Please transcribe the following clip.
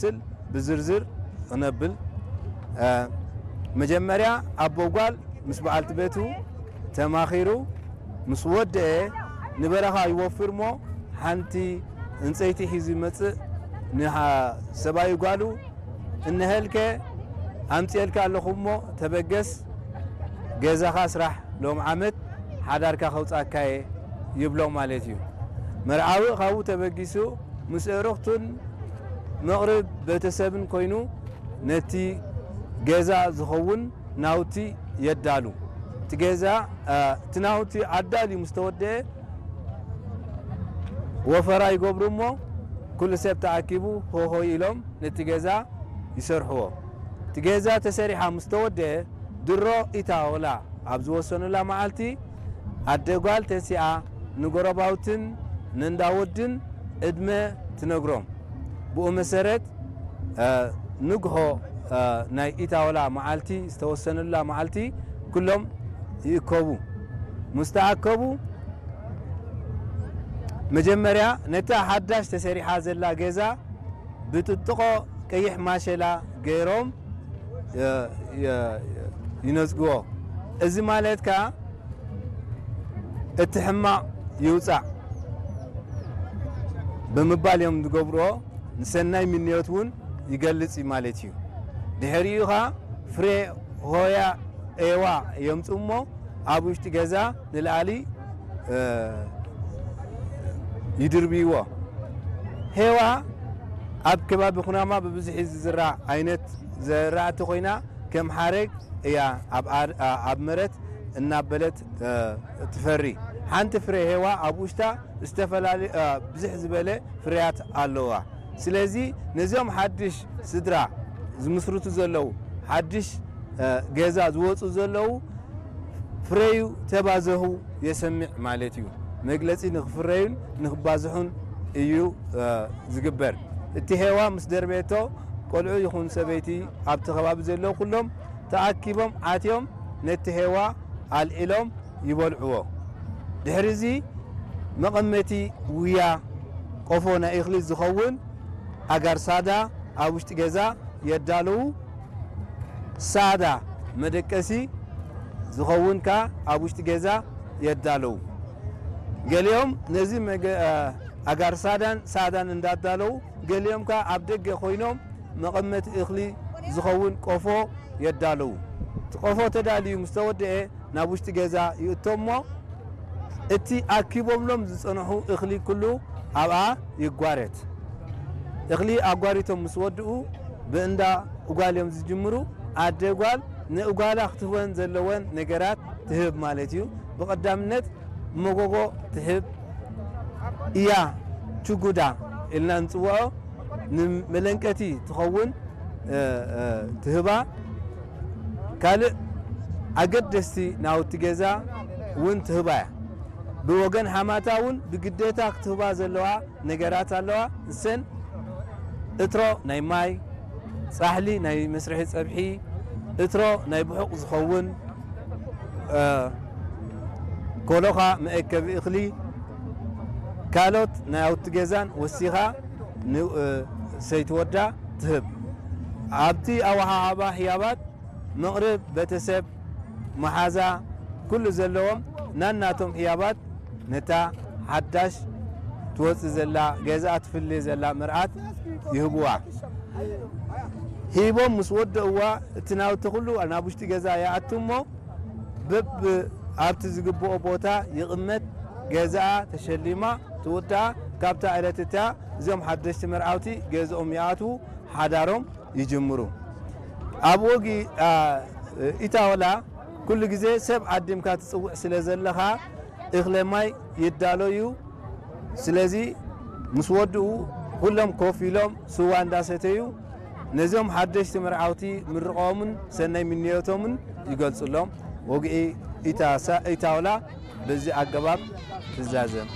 ክመስል ብዝርዝር ክነብል። መጀመርያ ኣቦ ጓል ምስ በዓልቲ ቤቱ ተማኺሩ ምስ ወደአ ንበረኻ ይወፍር እሞ ሓንቲ ዕንፀይቲ ሒዙ ይመፅእ። ንሰብኣይ ጓሉ እንሀልከ ኣምፅኤልካ ኣለኹ እሞ ተበገስ፣ ገዛኻ ስራሕ፣ ሎም ዓመት ሓዳርካ ከውፃካየ ይብሎ ማለት እዩ። መርዓዊ ካብኡ ተበጊሱ ምስ ኣዕሩኽቱን መቕርብ ቤተሰብን ኮይኑ ነቲ ገዛ ዝኸውን ናውቲ የዳሉ። እቲ ገዛ እቲ ናውቲ ኣዳልዩ ምስ ተወደአ ወፈራ ይገብሩ እሞ ኩሉ ሰብ ተኣኪቡ ሆሆ ኢሎም ነቲ ገዛ ይሰርሕዎ። እቲ ገዛ ተሰሪሓ ምስ ተወደአ ድሮ ኢታ ወላ ኣብ ዝወሰኑላ መዓልቲ ኣደ ጓል ተሲኣ ንጎረባውትን ነንዳወድን ዕድመ ትነግሮም። ብኡ መሰረት ንግሆ ናይ ኢታወላ መዓልቲ ዝተወሰነላ መዓልቲ ኩሎም ይእከቡ። ምስ ተኣከቡ መጀመርያ ነታ ሓዳሽ ተሰሪሓ ዘላ ገዛ ብጥጥቖ ቀይሕ ማሸላ ገይሮም ይነፅግዎ። እዚ ማለት ከዓ እቲ ሕማቕ ይውፃእ ብምባል እዮም ዝገብርዎ። ንሰናይ ምንዮት እውን ይገልፅ እዩ ማለት እዩ። ድሕሪኡ ከዓ ፍሬ ሆያ ኤዋ የምፅኡ እሞ ኣብ ውሽጢ ገዛ ንላዕሊ ይድርብይዎ። ሄዋ ኣብ ከባቢ ኩናማ ብብዝሒ ዝዝራእ ዓይነት ዘራእቲ ኮይና ከም ሓረግ እያ ኣብ መረት እናበለት ትፈሪ። ሓንቲ ፍረ ሄዋ ኣብ ውሽጣ ዝተፈላለየ ብዝሕ ዝበለ ፍርያት ኣለዋ። ስለዚ ነዚኦም ሓድሽ ስድራ ዝምስርቱ ዘለዉ፣ ሓድሽ ገዛ ዝወፁ ዘለዉ ፍረዩ ተባዘሁ የሰምዕ ማለት እዩ። መግለፂ ንክፍረዩን ንክባዝሑን እዩ ዝግበር። እቲ ሄዋ ምስ ደርቤቶ ቆልዑ ይኹን ሰበይቲ ኣብቲ ከባቢ ዘለዉ ኩሎም ተኣኪቦም ኣትዮም ነቲ ሄዋ ኣልዒሎም ይበልዕዎ። ድሕሪ እዚ መቐመቲ ውያ ቆፎ ናይ እኽሊ ዝኸውን ኣጋር ሳዳ ኣብ ውሽጢ ገዛ የዳለዉ። ሳዳ መደቀሲ ዝኸውን ከኣ ኣብ ውሽጢ ገዛ የዳለዉ። ገሊኦም ነዚ ኣጋር ሳዳን ሳዳን እንዳዳለዉ ገሊኦም ከኣ ኣብ ደገ ኮይኖም መቐመቲ እኽሊ ዝኸውን ቆፎ የዳለዉ። እቲ ቆፎ ተዳልዩ ምስ ተወደአ ናብ ውሽጢ ገዛ ይእቶ እሞ እቲ ኣኪቦምሎም ዝጸንሑ እኽሊ ኩሉ ኣብኣ ይጓረት። እኽሊ ኣጓሪቶም ምስ ወድኡ ብእንዳ እጓል እዮም ዝጅምሩ። ኣደ ጓል ንእጓላ ክትህበን ዘለወን ነገራት ትህብ ማለት እዩ። ብቐዳምነት መጎጎ ትህብ እያ። ችጉዳ ኢልና ንጽውዖ ንመለንቀቲ ትኸውን ትህባ። ካልእ ኣገደስቲ ናውቲ ገዛ እውን ትህባ እያ። ብወገን ሓማታ እውን ብግዴታ ክትህባ ዘለዋ ነገራት ኣለዋ። እሰን እትሮ ናይ ማይ፣ ጻሕሊ ናይ መስርሒ ጸብሒ፣ እትሮ ናይ ብሑቕ ዝኸውን፣ ኮሎኻ መእከቢ እኽሊ፣ ካልኦት ናይ ኣውቲ ገዛን ወሲኻ ንሰይቲ ወዳ ትህብ። ኣብቲ ኣወሃሃባ ህያባት መቕርብ ቤተሰብ፣ መሓዛ፣ ኩሉ ዘለዎም ናናቶም ህያባት ነታ ሓዳሽ ትወፅእ ዘላ ገዛ ትፍሊ ዘላ መርዓት ይህብዋ። ሂቦም ምስ ወደእዋ እቲ ናውቲ ኩሉ ናብ ውሽጢ ገዛ ይኣቱ እሞ በብ ኣብቲ ዝግብኦ ቦታ ይቕመጥ። ገዛኣ ተሸሊማ ትውዳኣ። ካብታ ዕለት እታ እዚኦም ሓደሽቲ መርዓውቲ ገዝኦም ይኣትዉ፣ ሓዳሮም ይጅምሩ። ኣብ ወጊ ኢታወላ ኩሉ ግዜ ሰብ ዓዲምካ ትጽውዕ ስለ ዘለኻ እኽለ ማይ ይዳሎ እዩ። ስለዚ ምስ ወድኡ ኩሎም ኮፍ ኢሎም ስዋ እንዳሰተዩ ነዞም ሓደሽቲ መርዓውቲ ምርቆምን ሰናይ ምንዮቶምን ይገልጹሎም። ወግዒ ኢታወላ በዚ ኣገባብ ትዛዘም።